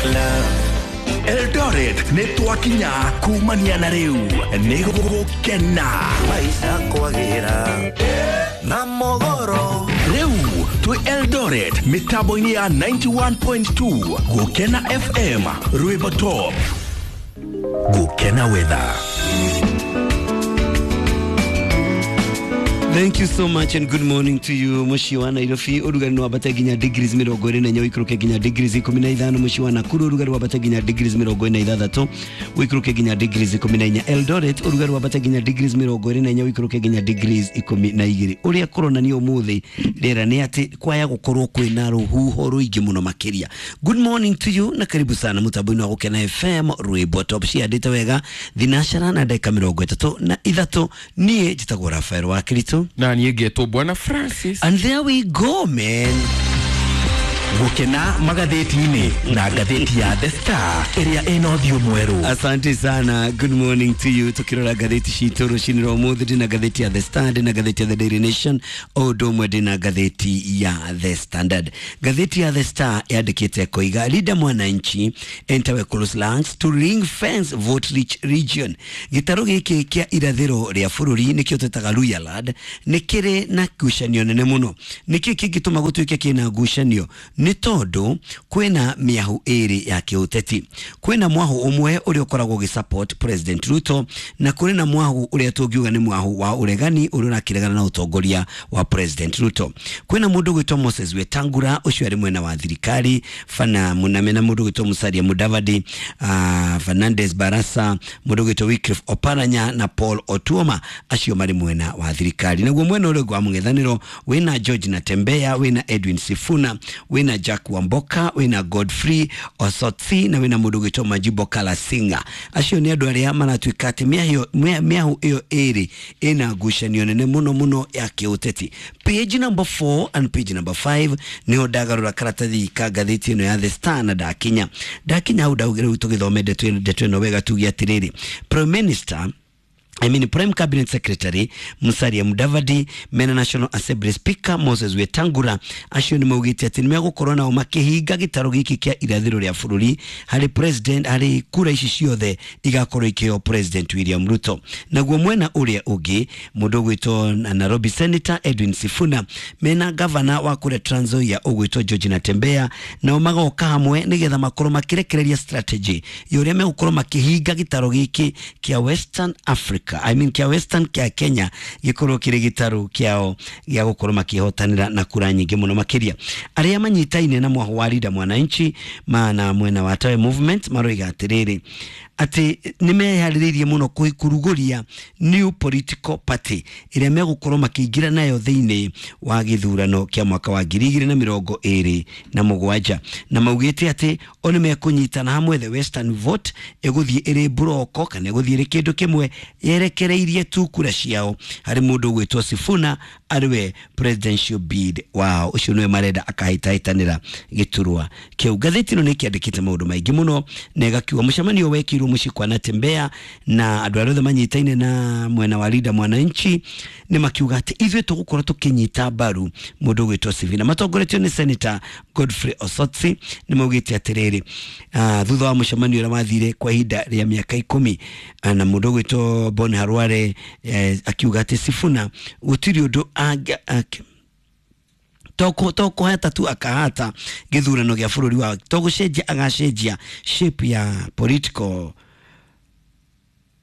Love. Eldoret nĩ twakinya kumania na rĩu nĩ gũgũkena. Maisha kwagĩra na mogoro. Rĩu twĩ Eldoret mĩtambo-inĩ ya 91.2 Gũkena FM, rwĩmbo top. Gũkena weather. Thank you so much and good morning to you. Mũciĩ wa Nairobi ũrugarĩ nĩ wambate nginya degrees 24, ũikũrũke nginya degrees 15. Mũciĩ wa Nakuru ũrugarĩ wambate nginya degrees 46, ũikũrũke nginya degrees 14. Eldoret ũrugarĩ wambate nginya degrees 24, ũikũrũke nginya degrees 12. Ũrĩa kũronania ũmũthĩ rĩera nĩ atĩ kwaya gũkorwo kwĩna rũhuho rũingĩ mũno makĩria. Good morning to you na karibu sana mũtambo-inĩ wa Gũkena FM, rwĩmbo top. Ciandĩte wega thinacara na ndagĩka 33. Niĩ njĩtagwo Rafael wa Kirito. Na niĩ ngetwo Bwana Francis. And there we go, man. Gũkena magathĩti-inĩ na ngathĩti ya The Star ĩrĩa ĩna ũthiũ mwerũ. Asante sana, good morning to you. Tukirora ngathĩti citũ rũcinĩ rwa ũmũthĩ, ndĩna ngathĩti ya The Star, ndĩna ngathĩti ya The Daily Nation, o ũndũ ũmwe ndĩna ngathĩti ya The Standard. Ngathĩti ya The Star yandĩkĩte koiga Linda Mwananchi enter close lands to ring fence vote rich region. Gĩtarũ gĩkĩ kĩa irathĩro rĩa bũrũri nĩkĩo twĩtaga Luhyaland nĩ kĩrĩ na ngucanio nene mũno. Nĩkĩ kĩngĩtũma gũtuĩke kĩna ngucanio? Nĩ tondũ kwĩna mĩahu ĩrĩ ya kĩũteti. Kwĩna mwahu ũmwe ũrĩa ũkoragwo ũgĩsupport President Ruto, na kũrĩ na mwahu ũrĩa tũngiuga nĩ mwahu wa ũregani ũrĩa ũrakĩregana na ũtongoria wa President Ruto. Kwĩna mũndũ ũgwĩtwo Moses Wetangula, ũcio arĩ mwena wa thirikari, Fana Muname, na mũndũ ũgwĩtwo Musalia Mudavadi, Fernandez Barasa, mũndũ ũgwĩtwo Wycliffe Oparanya na Paul Otuoma, acio marĩ mwena wa thirikari. Naguo mwena ũrĩa ũngĩ wa mũng'ethanĩro wĩna George Natembeya, wĩna Edwin Sifuna, wĩna Jack Wamboka, wĩna Godfrey Osotsi na wĩna mũndũ ũgwĩtwo Majibo Kalasinga. Acio nĩ andũ arĩa maratuĩka atĩ mĩahu ĩyo ĩrĩ ĩna ngucanio nene mũno mũno ya kĩũteti. Page number 4 and page number 5 niho ndagarũra karatathi ka ngathĩti ĩno ya The Star, na ndakinya hau ndaugire rĩu tũgĩthome ndeto ĩno wega, tuge atĩrĩrĩ, Prime Minister, I mean Prime Cabinet Secretary Musalia Mudavadi mena National Assembly Speaker Moses Wetangula, acio nĩ maugĩte atĩ nĩ megũkorwo nao makĩhinga gĩtarũ gĩkĩ kĩa irathĩro rĩa bũrũri harĩ president, harĩ kura ici ciothe igakorwo ikĩheo President William Ruto. Naguo mwena ũrĩa ũngĩ, mũndũ ũgwĩtwo Nairobi Senator Edwin Sifuna mena gavana wa kũrĩa Trans Nzoia ũgwĩtwo George Natembeya, nao magoka hamwe nĩgetha makorwo makĩrekereria strategy ya ũrĩa megũkorwo makĩhinga gĩtarũ gĩkĩ kĩa Western Africa, I mean kĩa Western kĩa Kenya, gĩkorwo kĩrĩ gĩtarũ kĩao gĩa gũkorwo makĩhotanĩra na kura nyingĩ mũno makĩria. Arĩa manyitaine na mwahu wa Linda Mwananchi mana mwena wa Tawe Movement maroiga atĩrĩrĩ, atĩ nĩ meharĩrĩirie mũno kũrugũria new political party ĩrĩa megũkorwo makĩingĩra nayo thĩinĩ wa gĩthurano kĩa mwaka wa 2027, na maugĩte atĩ o nĩ mekũnyitana hamwe, the Western vote ĩgũthiĩ ĩrĩ mburoko kana ĩgũthiĩ ĩrĩ kĩndũ kĩmwe yerekereirie tu kura ciao harĩ mũndũ ũgwĩtwo Sifuna arĩ we presidential bid wao, ũcio nĩwe marenda akahĩtahĩtanĩra gĩturwa kĩu. Ngathĩti ĩno nĩ ĩkĩandĩkĩte maũndũ maingĩ mũno na ĩgakiuga mũcemanio wekĩirwo mũciĩ kwa Natembeya na andũ arĩa othe manyitaine na mwena wa Linda Mwananchi nĩ makiuga atĩ ithuĩ tũgũkorwo tũkĩnyita mbaru mũndũ ũgwĩtwo Sifuna, matongoretio nĩ Senator Godfrey Osotsi. Nĩ maugĩte atĩrĩrĩ, thutha wa mũcemanio ũrĩa wathire kwa ihinda rĩa mĩaka 10, na mũndũ ũgwĩtwo Bon Harware akiuga atĩ Sifuna gũtirĩ ũndũ to kũhata tu akahata gĩthurano gĩa bũrũri wa to gũcenjia agacenjia shape ya political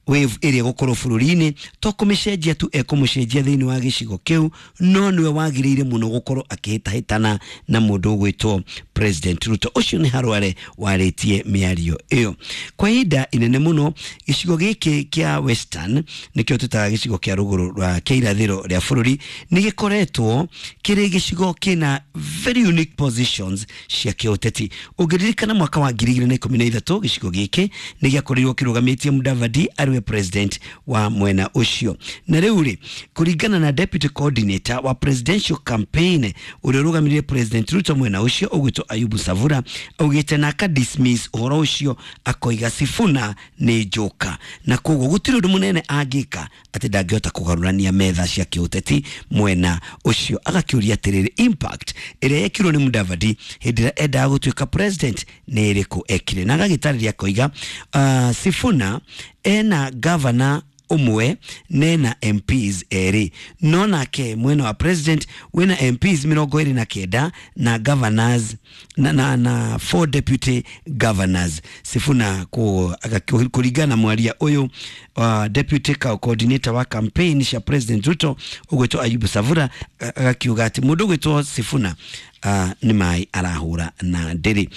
wave ĩrĩa ĩgũkorwo bũrũri-inĩ, to kũmĩcenjia tu ekũmũcenjia thĩinĩ wa gĩcigo kĩu, no nĩwe wagĩrĩire mũno gũkorwo akĩhĩtahĩtana na mũndũ ũgwĩtwo President Ruto. Ũcio nĩ Harware warĩtie mĩario ĩyo. Kwa ihinda inene mũno gĩcigo gĩkĩ kĩa Western, nĩkĩo twĩtaga gĩcigo kĩa rũgũrũ rwa kĩa irathĩro rĩa bũrũri, nĩ gĩkoretwo kĩrĩ gĩcigo kĩna very unique positions cia kĩũteti. Ũngĩririkana mwaka wa 2013 gĩcigo gĩkĩ nĩ gĩakorirwo kĩrũgamĩtie Mudavadi arĩ we president wa mwena ũcio. Na rĩu rĩ, kũringana na deputy coordinator wa presidential campaign ũrĩa ũrũgamĩrĩire President Ruto mwena ũcio ũgwĩtwo ũgwĩtwo Ayubu Savura augĩte na aka dismiss ũhoro ũcio, akoiga Sifuna nĩ njoka na koguo gũtirĩ ũndũ mũnene angĩka atĩ ndangĩhota kũgarũrania metha cia kĩũteti mwena ũcio. Agakĩũria atĩrĩrĩ, impact ĩrĩa yekirwo nĩ Mudavadi hĩndĩ ĩrĩa endaga gũtuĩka president nĩ ĩrĩkũ ekire? Na agagĩtarĩria akoiga Sifuna ena governor ũmwe nena MPs erĩ, no nake mwena wa president wĩna MPs 29 na governors na 4 deputy governors. Sifuna kũringana na mwaria ũyũ deputy coordinator wa campaign cia President Ruto ũgwĩtwo Ayubu Savura, agakiuga atĩ mũndũ ũgwĩtwo Sifuna nĩ maĩ arahũra na ndĩrĩ.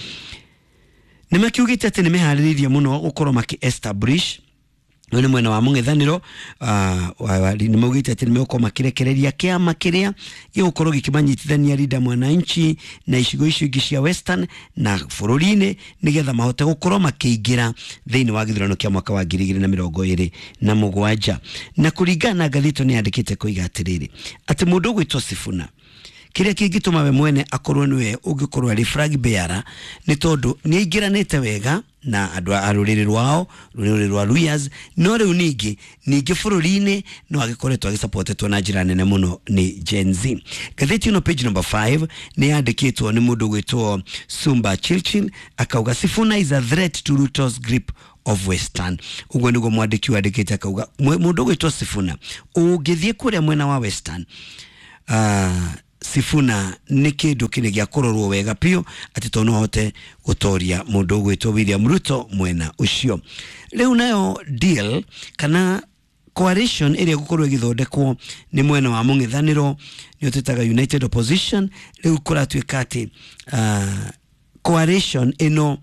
Nĩ makiugĩte atĩ nĩ meharĩrĩirie mũno gũkorwo makĩ establish ũyũ nĩ mwena wa mũng'ethanĩro. Nĩ maugĩte atĩ nĩ megũkorwo makĩrekereria kĩama kĩrĩa gĩgũkorwo gĩkĩmanyitithania Linda Mwananchi na icigo icio ingĩ cia Western na bũrũri-inĩ, nĩgetha mahote gũkorwo makĩingĩra thĩinĩ wa gĩthurano kĩa mwaka wa 2027. Na kũringana na ngathĩti nĩ yandĩkĩte koiga atĩrĩrĩ, atĩ mũndũ ũgwĩtwo Sifuna, kĩrĩa kĩngĩtũma we mwene akorwo nĩwe ũngĩkorwo arĩ flag bearer nĩ tondũ nĩ aingĩranĩte wega na andũ a rũrĩrĩ rwao, rũrĩrĩ rwa Luyas, no rĩu ningĩ bũrũri-inĩ no agĩkoretwo agĩcapotetwo na njĩra nene mũno nĩ Gen Z. Ngathĩti ĩno page number 5 nĩ yandĩkĩtwo nĩ mũndũ ũgwĩtwo Sumba Chilchil, akauga Sifuna is a threat to Ruto's grip of Western. Ũguo nĩguo mwandĩki wandĩkĩte, akauga mũndũ ũgwĩtwo Sifuna ũngĩthiĩ kũrĩa mwena wa Western, Sifuna nĩ kĩndũ kĩrĩ gĩa kũrorwo wega biũ atĩ to no ahote gũtoria mũndũ ũgwĩtwo William Ruto mwena ũcio. Rĩu nayo deal kana coalition ĩrĩa ĩgũkorwo ĩgĩthondekwo nĩ mwena wa mũng'ethanĩro nĩyo twĩtaga United Opposition, rĩu kũratuĩka atĩ coalition ĩno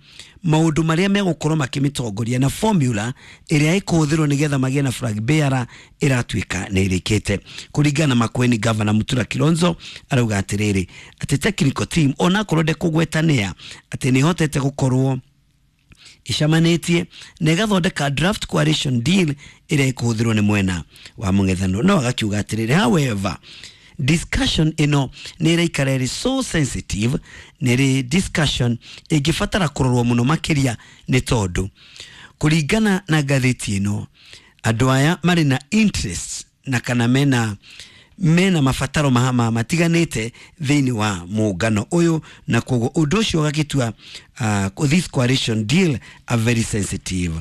maũndũ marĩa megũkorwo makĩmĩtongoria na formula ĩrĩa ĩkũhũthĩrwo nĩgetha magĩe na flag bearer ĩratuĩka nĩ ĩrĩkĩte. Kũringana na Makueni Governor Mutura Kilonzo arauga atĩrĩrĩ, atĩ technical team onakorwo ndekũgwetanĩa atĩ nĩ ĩhotete gũkorwo icamanĩtie na ĩgathondeka draft coalition deal ĩrĩa ĩkũhũthĩrwo nĩ mwena wa mũng'ethanĩro. No agakiuga atĩrĩrĩ, however, discussion ĩno nĩ ĩraikara ĩrĩ so sensitive, nĩ ĩrĩ discussion ĩngĩbatara kũrorwo mũno makĩria, nĩ tondũ kũringana na ngathĩti ĩno andũ aya marĩ na interests na kana mena mabataro matiganĩte thĩinĩ wa mũngano ũyũ, na koguo ũndũ ũcio ũgagĩtua this coalition deal a very sensitive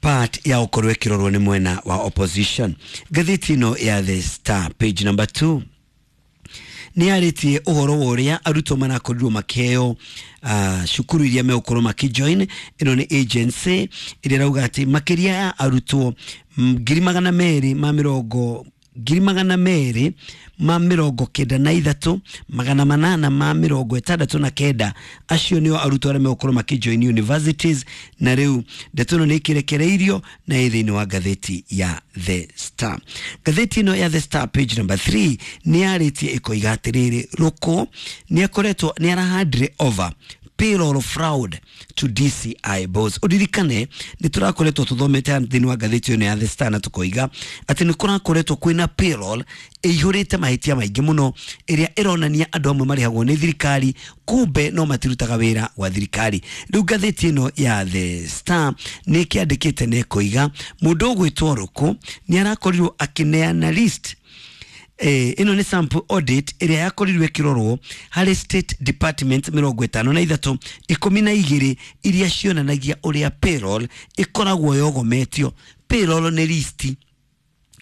part ya ũkorwo ĩkĩrorwo nĩ mwena wa opposition. Ngathĩti ĩno ya The Star page number 2 nĩ yarĩtie ũhoro wa ũrĩa arutwo marakorirwo makĩheo cukuru iria megũkorwo makĩjoin. Ĩno nĩ agency ĩrĩa ĩrauga atĩ makĩria ya arutwo 293,869 acio nĩo arutwo arĩa megũkorwo makĩjoin universities, na rĩu ndeto ĩno nĩ ĩkĩrekereirio na ĩ thĩinĩ wa ngathĩti ya The Star. Ngathĩti ĩno ya The Star page number 3 nĩ yarĩtie ĩkoiga atĩrĩrĩ, Ruku nĩ akoretwo nĩ arahandire over payroll fraud to DCI boss. Uririkane nĩ tũrakoretwo tũthomete thĩinĩ wa ngathĩti ĩno ya The Star na tũkoiga atĩ nĩ kũrakoretwo kwĩna payroll ĩihũrĩte mahĩtia maingĩ mũno ĩrĩa ĩronania andũ amwe marĩhagwo nĩ thirikari kumbe no matirutaga wĩra wa thirikari. Rĩu ngathĩti ĩno ya The Star nĩ ĩkĩandĩkĩte na ĩkoiga mũndũ ũgwĩtwo Ruku nĩ arakorirwo akĩneana list. Ĩno nĩ sample audit ĩrĩa yakorirwo ĩkĩrorwo harĩ state department 53 12 iria cionanagia ũrĩa payroll ĩkoragwo yogometio. Payroll nĩ list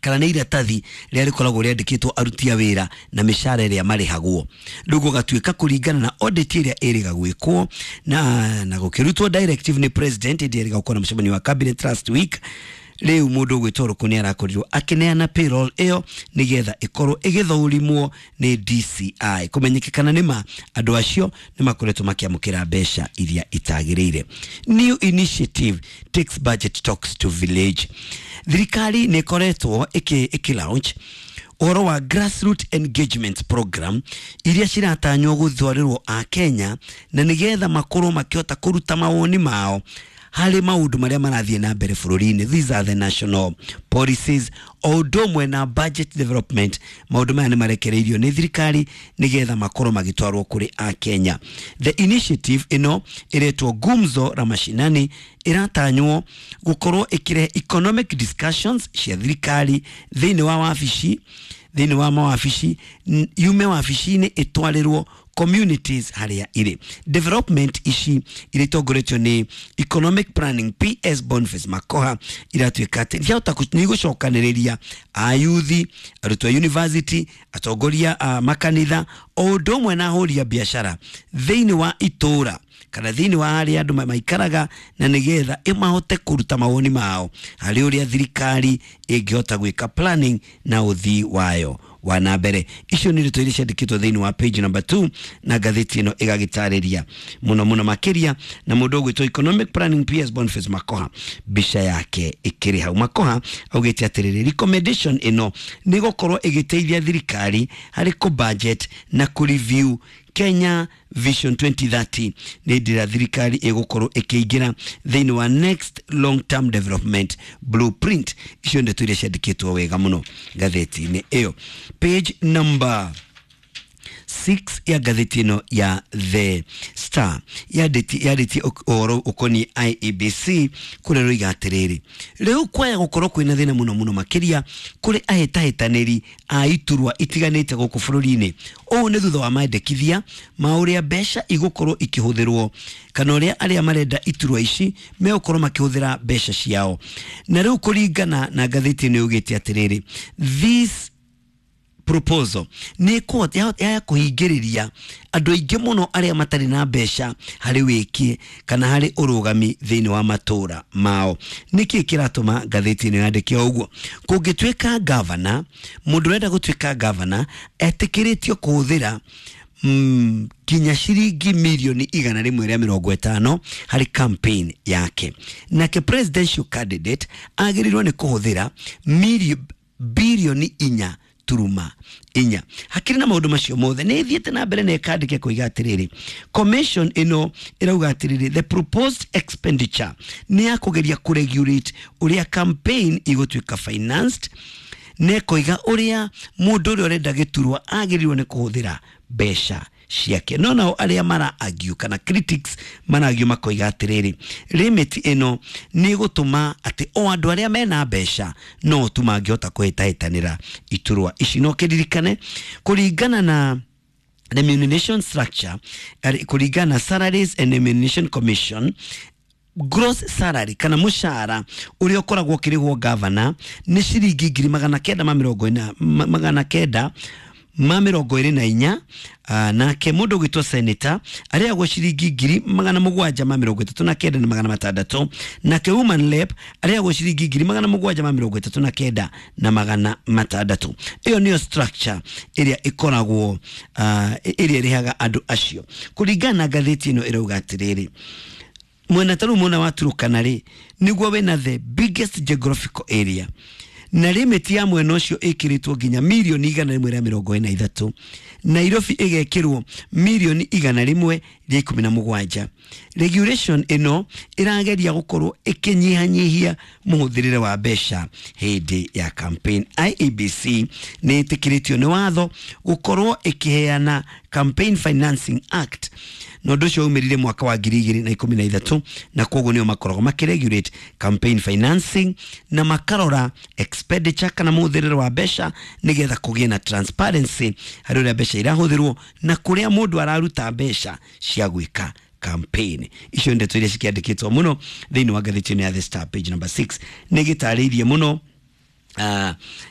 kana nĩ iratathi rĩrĩa rĩkoragwo rĩandĩkĩtwo aruti a wĩra na mĩcara ĩrĩa marĩhagwo. Rĩu gũgatuĩka kũringana na audit ĩrĩa ĩrĩga gwĩkwo na gũkĩrutwo directive nĩ president ĩrĩa ĩrĩga gũkorwo na mũcemanio wa cabinet last week. Rĩu mũndũ ũgwĩtwo Ruku nĩ arakorirwo akĩneana payroll ĩyo nĩgetha ĩkorwo ĩgĩthũrimwo nĩ DCI kũmenyeke kana nĩma andũ acio nĩ makoretwo makĩamũkĩra mbeca iria itagĩrĩire. New initiative takes budget talks to village. Thirikari nĩ ĩkoretwo ĩkĩ launch ũhoro wa grassroot engagement program iria ciratanywo gũtwarĩrwo a Kenya na nĩgetha makorwo makĩhota kũruta mawoni mao Harĩ maũndũ marĩa marathiĩ na mbere bũrũri-inĩ. These are the national policies o ũndũ ũmwe na budget development. Maũndũ maya nĩ marekereirio nĩ thirikari nĩgetha makorwo magĩtwarwo kũrĩ Akenya. The initiative ĩno ĩretwo Gumzo la Mashinani ĩratanywo gũkorwo ĩkĩrehe economic discussions cia thirikari thĩinĩ wa wabici, thĩinĩ wa mawabici, yume wabici-inĩ ĩtwarĩrwo communities harĩa irĩ. Development ici iria itongoretio nĩ Economic Planning PS Boniface Makoha iratuĩka atĩ ciahota nĩ igũcokanĩrĩria ayuthi, arutwo a university, atongoria a makanitha o ũndũ ũmwe na ahũri a biacara thĩinĩ wa itũũra kana thĩinĩ wa harĩa andũ maikaraga, na nĩgetha ĩmahote kũruta mawoni mao harĩ ũrĩa thirikari ĩngĩhota gwĩka planning na ũthii wayo wa na mbere. Icio nĩ ndeto iria ciandĩkĩtwo thĩinĩ wa page number 2 na ngathĩti ĩno ĩgagĩtarĩria mũno mũno makĩria, na mũndũ ũgwĩtwo Economic Planning PS Boniface Makoha mbica yake ĩkĩrĩ hau. Makoha augĩte atĩrĩrĩ, recommendation ĩno nĩ gũkorwo ĩgĩteithia thirikari harĩ kũ budget na kũ review Kenya Vision 2030 nĩ hĩndĩ ĩrĩa thirikari ĩgũkorwo ĩkĩingĩra thĩinĩ wa next long term development blueprint. Icio ndeto iria ciandĩkĩtwo wega mũno ngathĩti-inĩ ĩyo. Page number 6 ya ngathĩti ĩno ya The Star yandĩtie ũhoro ũkoniĩ IEBC kũrĩa rũiga atĩrĩrĩ, rĩu kwaya gũkorwo kwĩna thĩna mũno mũno makĩria kũrĩ ahĩtahĩtanĩri a iturwa itiganĩte gũkũ bũrũri-inĩ. Ũũ nĩ thutha wa mandĩkithia ma ũrĩa mbeca igũkorwo ikĩhũthĩrwo kana ũrĩa arĩa marenda iturwa ici megũkorwo makĩhũthĩra mbeca ciao. Na rĩu kũringana na ngathĩti ĩno yugĩte atĩrĩrĩ, this proposal nĩ ya kũhingĩrĩria andũ aingĩ mũno arĩa matarĩ na mbeca harĩ wĩki kana harĩ ũrũgami thĩinĩ wa matũra mao. Nĩkĩ kĩratũma ngathĩti ĩno yandĩke ũguo? Kũngĩtuĩka gavana, mũndũ ũrenda gũtuĩka gavana etĩkĩrĩtio kũhũthĩra nginya ciringi 150,000,000 harĩ campaign yake. Nake presidential candidate agĩrĩirwo nĩ kũhũthĩra 4.4 billion. Hakĩrĩ na maũndũ macio mothe nĩ ĩthiĩte na mbere na ĩkandĩke kũiga atĩrĩrĩ, commission ĩno ĩrauga atĩrĩrĩ, the proposed expenditure nĩ ya kũgeria kũregulate ũrĩa campaign igũtuĩka financed, na ĩkoiga ũrĩa mũndũ ũrĩa ũrenda gĩturwa agĩrĩirwo nĩ kũhũthĩra mbeca ciake. No nao arĩa mara argue kana critics mara argue makoiga atĩrĩrĩ, limit ĩno nĩ ĩgũtũma atĩ o andũ arĩa mena mbeca no tu mangĩhota kũhĩtahĩtanĩra iturwa ici. No kĩririkane kũringana na remuneration structure, kũringana na Salaries and Remuneration Commission, gross salary kana mũcara ũrĩa ũkoragwo ũkĩrĩhwo gavana nĩ ciringi 944,000. Nake mũndũ ũgwĩtwo senator arĩhagwo ciringi 739,600, nake woman rep arĩhagwo ciringi 739,600. Ĩyo nĩyo structure ĩrĩa ĩkoragwo ĩrĩa ĩrĩhaga andũ acio. Kũringana na ngathĩti ĩno ĩrauga atĩrĩrĩ, mwena ta rĩu mwena wa Turukana rĩ nĩguo wĩna the biggest geographical area, na limit ya mwena ũcio ĩkĩrĩtwo nginya 143,000,000. Nairobi ĩgekĩrwo 117,000,000. Regulation ĩno ĩrageria gũkorwo ĩkĩnyihanyihia mũhũthĩrĩre wa mbeca hĩndĩ ya campaign. IEBC nĩ ĩtĩkĩrĩtio nĩ watho gũkorwo ĩkĩheana Campaign Financing Act, na ũndũ ũcio waumĩrire mwaka wa 2013, na koguo nĩo makoragwo makĩregulate campaign financing na makarora expenditure kana mũhũthĩrĩre wa mbeca nĩgetha kũgĩe na transparency harĩ ũrĩa mbeca irahũthĩrwo na kũrĩa mũndũ araruta mbeca cia gwĩka campaign. Icio nĩ ndeto iria cikĩandĩkĩtwo mũno thĩinĩ wa ngathĩti ĩno ya The Star. Page number 6 nĩ gĩtarĩirie mũno,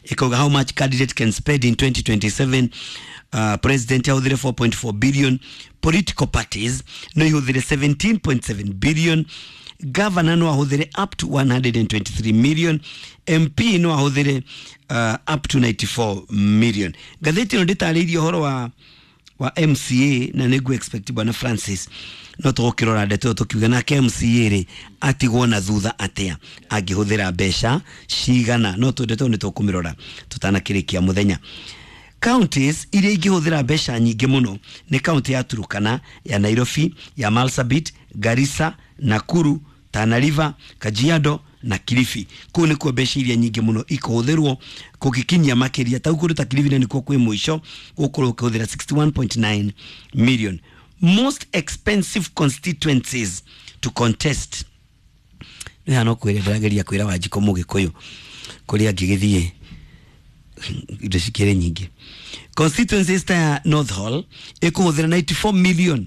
ikauga how much candidate can spend in 2027. President ahũthĩre 4.4 billion, political parties no ihũthĩre 17.7 billion, governor no ahũthĩre up to 123 million, MP no ahũthĩre up to 94 million. Ngathĩti ĩno ndĩtarĩirie ũhoro wa MCA, na nĩguo expect bwana Francis no tũgũkĩrora ndeto ĩyo tũkiuga nake MCA rĩ atigwo na thutha atĩa angĩhũthĩra mbeca cigana. No ndeto ĩyo nĩ tũkũmĩrora tũtanakĩrĩkia mũthenya. Counties iria ingĩhũthĩra mbeca nyingĩ mũno nĩ kaunti ya Turukana, ya Nairobi, ya Marsabit, Garissa, Nakuru, Tana River, Kajiado na Kilifi. Kũu nĩkuo mbeca iria nyingĩ mũno ikũhũthĩrwo kũgĩkinyia makĩria tau kũndũ ta Kilifi na nĩkuo kwĩ mũico gũkorwo ũkĩhũthĩra 61.9 million. Most expensive constituencies to contest nĩ hana kwĩra ndĩrageria kwĩra Wanjikũ Mũgĩkũyũ kũrĩa angĩgĩthiĩ indo cikĩrĩ nyingĩ. Constituencies ta ya North Hall ĩkũhũthĩra 94 million,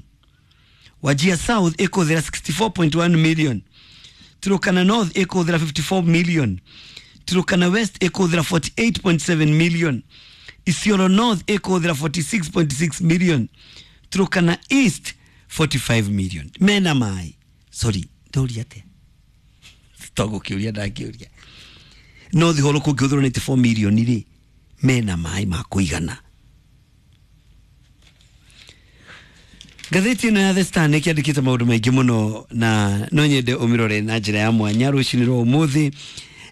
Wajir South ĩkũhũthĩra 64.1 million, Turkana North ĩkũhũthĩra 54 million, Turkana West ĩkũhũthĩra 48.7 million, Isiolo North ĩkũhũthĩra 46.6 million, Turkana East 45 million. Mena mai, sorry, ndũria atĩa togũkĩũria ndakĩũria North Hall kũngĩhũthĩrwo 94 million rĩ, mena maĩ ma kũigana? Ngathĩti ĩno ya The Star nĩ kĩandĩkĩte maũndũ maingĩ mũno na no nyende ũmĩrore na njĩra ya mwanya rũcinĩ rwa ũmũthĩ,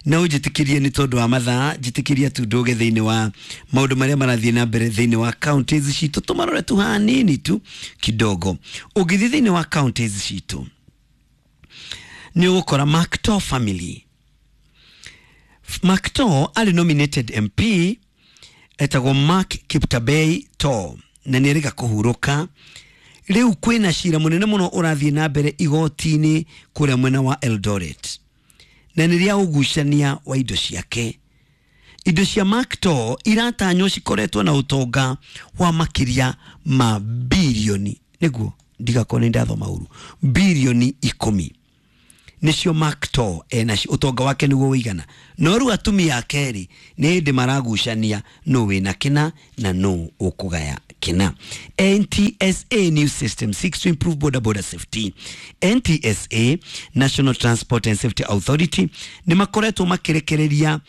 na ũnjĩtĩkĩrie nĩ tondũ wa mathaa, njĩtĩkĩria tu ndũge thĩinĩ wa maũndũ marĩa marathiĩ na mbere thĩinĩ wa counties citũ, tũmarore tu hanini tu kidogo. Ũngĩthiĩ thĩinĩ wa counties citũ nĩ ũgũkora Macto family. Macto arĩ nominated MP etagwo Mark Kiptabei To na nĩ erĩga kũhurũka. Rĩu kwĩna cira mũnene mũno ũrathiĩ na mbere igoti-inĩ kũrĩa mwena wa Eldoret, na nĩ rĩa ũgucania wa indo ciake. Indo cia Mark To iratanywo cikoretwo na ũtonga wa makĩria ma birioni, nĩguo ndigakorwo nĩ ndathoma ũru, birioni 10 nĩcio Mark To enacio, ũtonga wake nĩguo ũigana. No rĩu atumia ake rĩ, nĩ hĩndĩ maragucania nũ wĩna kĩna na nũ ũkũgaya kĩna. NTSA new system seeks to improve border border safety. NTSA, National Transport and Safety Authority, nĩ makoretwo makĩrekereria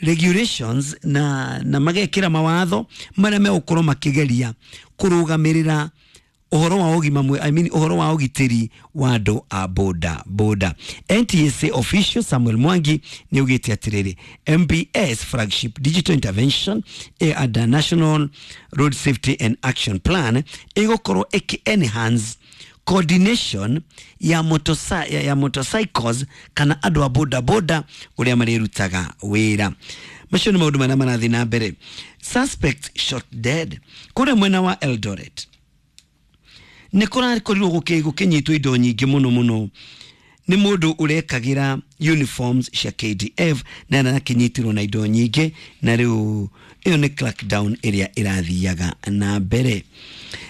regulations na magekĩra mawatho marĩa megũkorwo makĩgeria kũrũgamĩrĩra ũhoro wa ũgima mwe, I mean, ũhoro wa ũgitĩri wa andũ a boda boda. NTSA official Samuel Mwangi nĩ augĩte atĩrĩrĩ, MBS flagship digital intervention under National Road Safety and Action Plan ĩgũkorwo ĩkĩ enhance coordination ya, ya motorcycles kana andũ a boda boda ũrĩa marĩrutaga wĩra. Macio nĩ maũndũ marĩa marathiĩ na mbere. Suspect shot dead kũrĩa mwena wa Eldoret nĩ kũrakorirwo gũkĩnyitwo indo nyingĩ mũno mũno nĩ mũndũ ũrekagĩra uniforms cia KDF na arakĩnyitirwo na indo nyingĩ, na rĩu ĩyo nĩ crackdown ĩrĩa ĩrathiaga na mbere.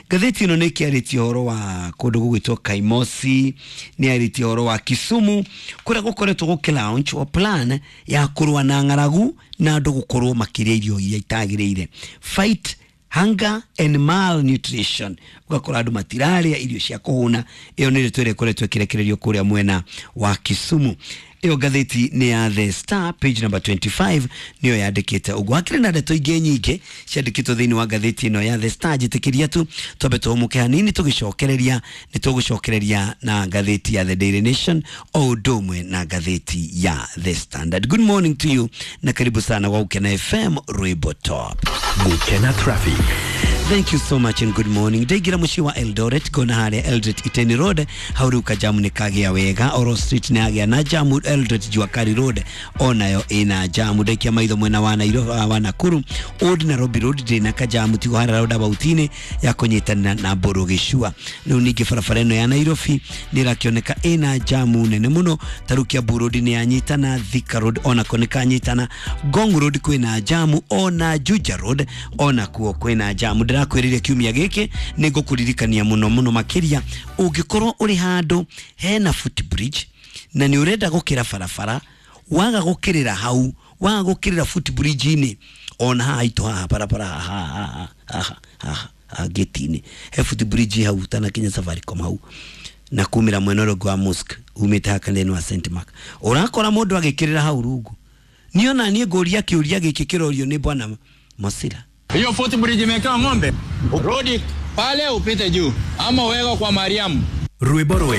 Ngathĩti ĩno nĩ ĩkĩarĩtie ũhoro wa kũndũ gũgwĩtwo Kaimosi, nĩ yarĩtie ũhoro wa Kisumu kũrĩa gũkoretwo gũkĩ launch o plan ya kũrũa na ng'aragu na andũ gũkorwo makĩrĩa irio iria itagĩrĩire, fight hunger and malnutrition, ũgakora andũ matirarĩa irio cia kũhũna. Ĩyo nĩ ndeto ĩrĩa ĩkoretwo ĩkĩrekererio kũrĩa mwena wa Kisumu. Ĩyo ngathĩti nĩ ya The Star page number 25 nĩyo yandĩkĩte ũguo. Hakĩrĩ na ndeto ingĩ nyingĩ ciandĩkĩtwo thĩinĩ wa ngathĩti ĩno ya The Star. Njĩtĩkĩria tu twambe tũhũmũke hanini, tũgĩcokereria nĩ tũgũcokereria na ngathĩti ya The Daily Nation o ũndũ ũmwe na ngathĩti ya The Standard. Good morning to you na karibu sana wa Gukena FM Rwimbo Top. Gukena Traffic. Thank you so much and good morning. Ndaingĩra mũciĩ wa Eldoret ngona harĩa Eldoret Iten Road hau rĩu kajamu nĩ kagĩa wega. Oro Street nĩ yagĩa na jamu. Eldoret Juakari Road onayo ĩna jamu. Ndaikia maitho mwena wa Nairobi wa Nakuru Old Nairobi Road ndĩna kajamu tigo harĩa roundabout-inĩ ya kũnyitanĩra na Mbũrũ Gĩcua. Rĩu ningĩ barabara ĩno ya Nairobi nĩ ĩrakĩoneka ĩna jamu nene mũno. Ta rĩu Kiambu Road nĩ yanyitana, Thika Road onako nĩ kanyitana, Ngong Road kwĩna jamu, ona Juja Road onakuo kwĩna jamu. Ndĩrakwĩrire kiumia gĩkĩ nĩ ngũkũririkania mũno mũno makĩria ũngĩkorwo ũrĩ handũ hena footbridge na nĩ ũrenda gũkĩra barabara, waga gũkĩrĩra hau, waga gũkĩrĩra footbridge-inĩ, ona haha itũ haha barabara haha haha haha haha gate-inĩ he footbridge hau ũtanakinya Safaricom hau na kumĩra mwena ũrĩa ũngĩ wa mosque umĩte haha kanitha-inĩ wa St Mark, ũrakora mũndũ agĩkĩrĩra hau rungu. Niĩ ona niĩ ngũria kĩũria gĩkĩ kĩrorio nĩ bwana Mosira. Hiyo footbridge imewekewa ng'ombe, rudi pale upite juu ama uweke kwa Mariamu. Rwimbo rwega.